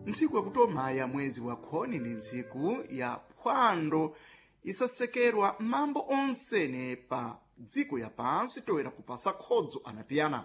Ntsiku yakutoma ya mwezi wa khoni ndi ntsiku ya phwando isasekerwa mambo onsene pa dziko ya pansi toera kupasa khodzo anapiyana.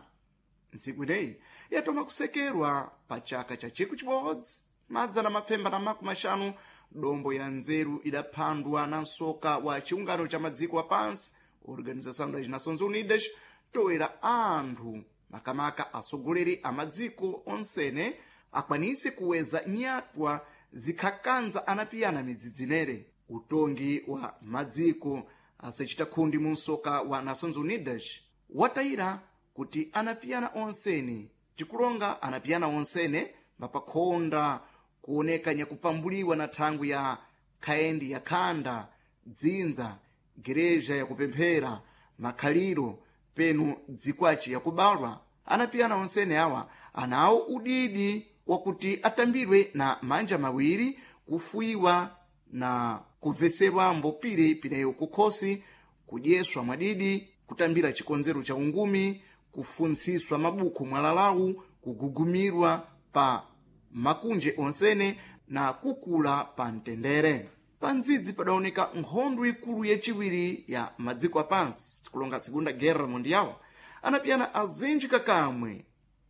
Ntsiku ineyi yatoma kusekerwa pa chaka cha 1950, dombo ya nzeru idaphandwa na msoka wa chiungano cha madziko apansi, Organização das Nações Unidas, toera anthu makamaka atsogoleri a madziko onsene akwanise kuweza nyatwa zikhakanza anapiyana midzidzi inere. Utongi wa madziko asachita khundi mu msoka wa Nações Unidas watayira kuti anapiyana onsene, tikulonga anapiyana onsene mapakhonda kuoneka nyakupambuliwa na thangwi ya khaendi ya khanda, dzinza, gereja yakupemphera, makhaliro penu dzikwaci yakubalwa. Anapiyana onsene awa anawo udidi wakuti atambidwe na manja mawiri, kufuiwa na kubveserwambo pire pineyo kukhosi, kudyeswa mwadidi, kutambira chikonzero cha ungumi, kufuntsiswa mabuku mwalalawu, kugugumirwa pa makunje onsene na kukula pa mtendere. Pa ndzidzi padaoneka nkhondo ikulu yachiwiri ya madziko apansi, tikulonga Segunda Guerra Mundial. Anapiyana azinji kakamwe,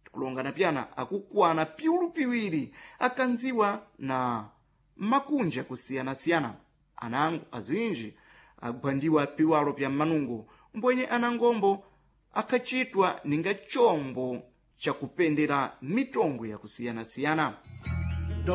tikulonga anapiyana akukwana piulu piwiri, akanziwa na makunja akusiyana-siyana. Anango azinji agwandiwa piwalo pya manungo, mbwenye anangombo akhachitwa ninga chombo chakupendera mitongo yakusiyana-siyana.